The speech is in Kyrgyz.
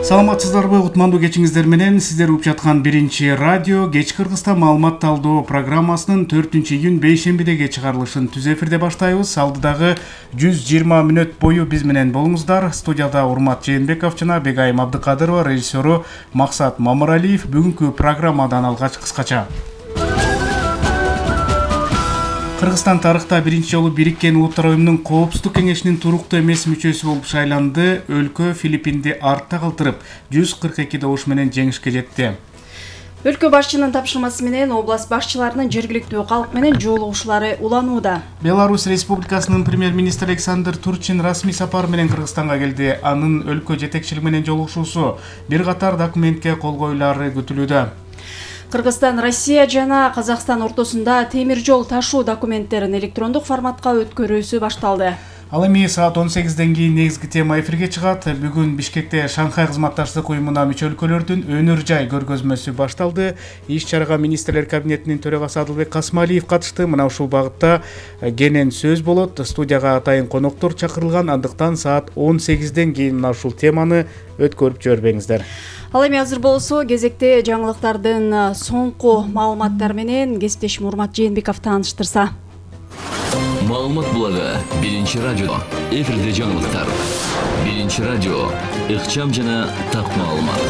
Саламатсыздарбы, утмандуу кечиңиздер менен сиздер угуп жаткан биринчи радио кеч Кыргызстан маалымат талдоо программасынын 4-июнь бейшембидеги чыгарылышын түз эфирде баштайбыз. Алдыдагы 120 мүнөт бою биз менен болуңуздар. Студияда Урмат Жээнбеков жана Бегайым Абдыкадырова, режиссеру Максат Мамыралиев. Бүгүнкү программадан алгач кыскача. Кыргызстан тарыхта биринчи жолу Бириккен Улуттар уюмунун Коопсуздук кеңешинин туруктуу эмес мүчөсү болуп шайланды. Өлкө Филиппинди артта калтырып, 142 добуш менен жеңишке жетти. Өлкө башчынын тапшырмасы менен область башчыларынын жергиликтүү калк менен жолугушуулары уланууда. Беларусь Республикасынын премьер-министри Александр Турчин расмий сапар менен Кыргызстанга келди. Анын өлкө жетекчилиги менен жолугушуусу бир катар документке кол коюлары күтүлүүдө. Кыргызстан, Россия жана Казакстан ортосунда темир жол ташуу документтерин электрондук форматка өткөрүүсү башталды. Ал эми саат 18ден кийин негизги тема эфирге чыгат. Бүгүн Бишкекте Шанхай кызматташтык уюмуна мүчө өлкөлөрдүн өнөр жай көргөзмөсү башталды. Иш-чарага министрлер кабинетинин төрагасы Адылбек Касмалиев катышты. Мына ушул багытта кенен сөз болот. Студияга атайын коноктор чакырылган, андыктан саат 18ден кийин мына ушул теманы өткөрүп жибербеңиздер. Ал эми азыр болсо кезекте жаңылыктардын соңку маалыматтары менен кесиптешим Урмат Жээнбеков тааныштырса. Маалымат булагы биринчи радио. Эфирде жаңылыктар. Биринчи радио. Ыкчам жана так маалымат.